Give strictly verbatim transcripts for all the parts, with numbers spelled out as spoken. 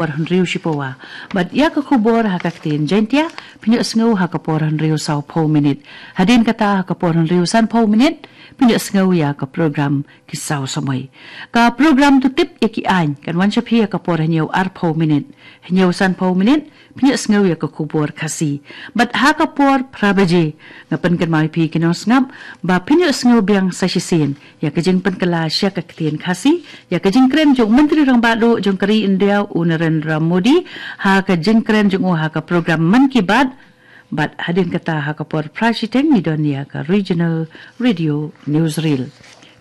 por hynriew shi pawa. Bad ïa ka khubor ha ka ktien Jaintia, phin ïohsngew ha ka por hynriew saw phew minit. Hadien kata ha ka por hynriew san phew minit, phin ïohsngew ïa ka program Ki Saw Samoi. Ka program To Tip ïa ki Aiñ kan wan sha phi ha ka por hynñiew ar phew minit. Hynñiew san phew minit, phin ïohsngew ïa ka khubor Khasi. Bad ha ka por phra baje, nga pynkynmaw ïa phi ki nongsngap ba phin ïohsngew biang sa shisien ïa ka jingpynkylla sha ka ktien Khasi ïa ka jingkren jong u Myntri Rangbah Duh jong ka ri India, u Narendra Modi, ha ka jingkren jong u ha ka program Mann Ki Baat. Bad hadien kata ha ka por phra shiteng ngi don ïa ka Regional Radio Newsreel.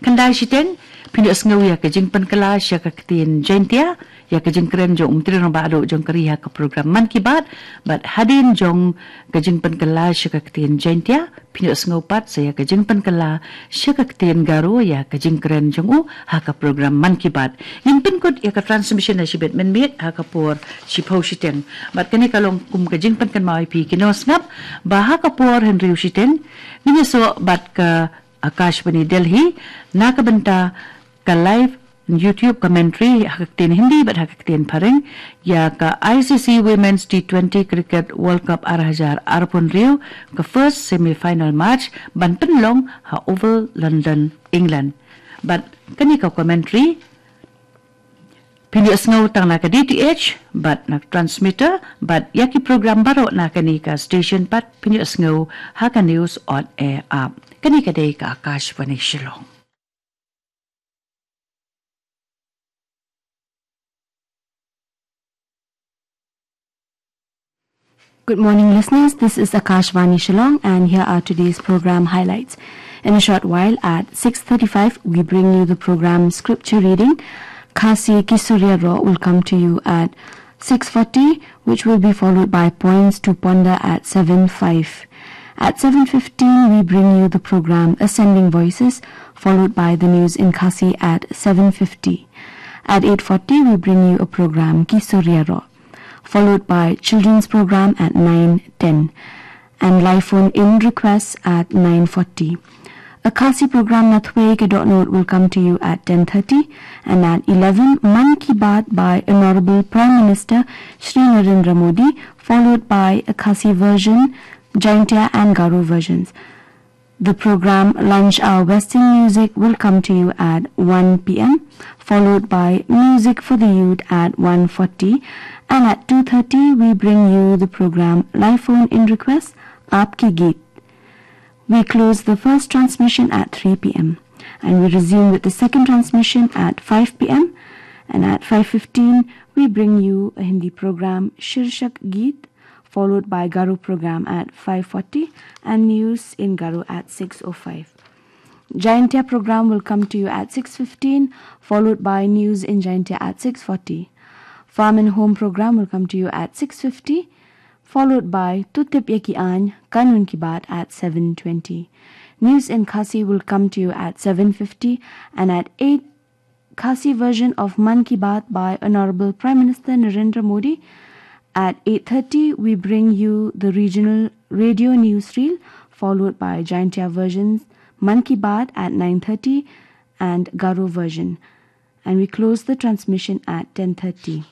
Khyndai shiteng, phin ïohsngew ïa ka jingpynkylla sha ka ktien Jaintia ïa ka jingkren jong u Myntri Rangbah Duh jong ka ri ha ka program Mann Ki Baat. Bad hadien jong ka jingpynkylla sha ka ktien Jaintia, phin ïohsngew pat sa ïa ka jingpynkylla sha ka ktien Garo ïa ka jingkren jong u ha ka program Mann Ki Baat. Ngin pynkut ïa ka transmission ha shibit mynmiet ha ka por shi phew shiteng. Bad kane ka long kum ka jingpynkynmaw ïa phi ki nongsngap ba ha ka por hynriew shiteng ngin ïasoh bad ka Akashvani Delhi na ka bynta ka live YouTube commentary ha ka ktien Hindi bad ha ka ktien Phareng ïa ka I C C Women's T twenty Cricket World Cup ar hajar arphew hynriew, ka first semi final match ban pynlong ha Oval, London, England. Bad kane ka commentary phin ïohsngew tang na ka D T H bad na ka transmitter, bad ïa ki program baroh na kane ka station pat phin ïohsngew ha ka News on Air app. Kane ka dei ka Akashvani Shillong. Good morning, listeners. This is Akashvani Shillong, and here are today's program highlights. In a short while, at six thirty-five, we bring you the program Scripture Reading. Khasi Ki Surya Ro will come to you at six forty, which will be followed by Points to Ponder at seven five. At seven fifteen, we bring you the program Ascending Voices, followed by the news in Khasi at seven fifty. At eight forty, we bring you a program Ki Surya Ro, followed by children's program at nine ten, and live phone in requests at nine forty. A Khasi program Nathwei Ka Dohnud will come to you at ten thirty, and at eleven, Mann Ki Baat by Honorable Prime Minister Shri Narendra Modi, followed by a Khasi version, Jaintia and Garo versions. The program Lunch Hour Western Music will come to you at one p m, followed by Music for the Youth at one forty, and at two thirty we bring you the program Live Phone In Request, Aapke Geet. We close the first transmission at three p m, and we resume with the second transmission at five p m, and at five fifteen we bring you a Hindi program, Shirshak Geet, followed by Garo program at five forty and news in Garo at six oh five. Jaintia program will come to you at six fifteen, followed by news in Jaintia at six forty. Farm and Home program will come to you at six fifty, followed by To Tip Ïa Ki Aiñ, Kanun Ki Baat at seven twenty. News in Khasi will come to you at seven fifty, and at eight, Khasi version of Mann Ki Baat by Honorable Prime Minister Narendra Modi. At eight thirty, we bring you the regional radio news reel, followed by Jaintia versions Mann Ki Baat at nine thirty and Garo version. And we close the transmission at ten thirty.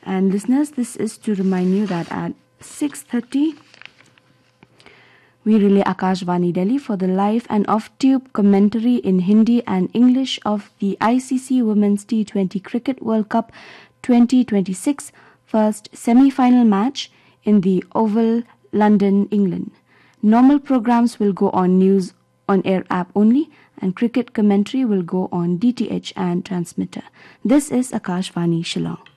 And listeners, this is to remind you that at six thirty, we relay Akashvani Delhi for the live and off-tube commentary in Hindi and English of the I C C Women's T twenty Cricket World Cup twenty twenty-six first semi-final match in the Oval, London, England. Normal programs will go on News on Air app only, and cricket commentary will go on D T H and transmitter. This is Akashvani Shillong.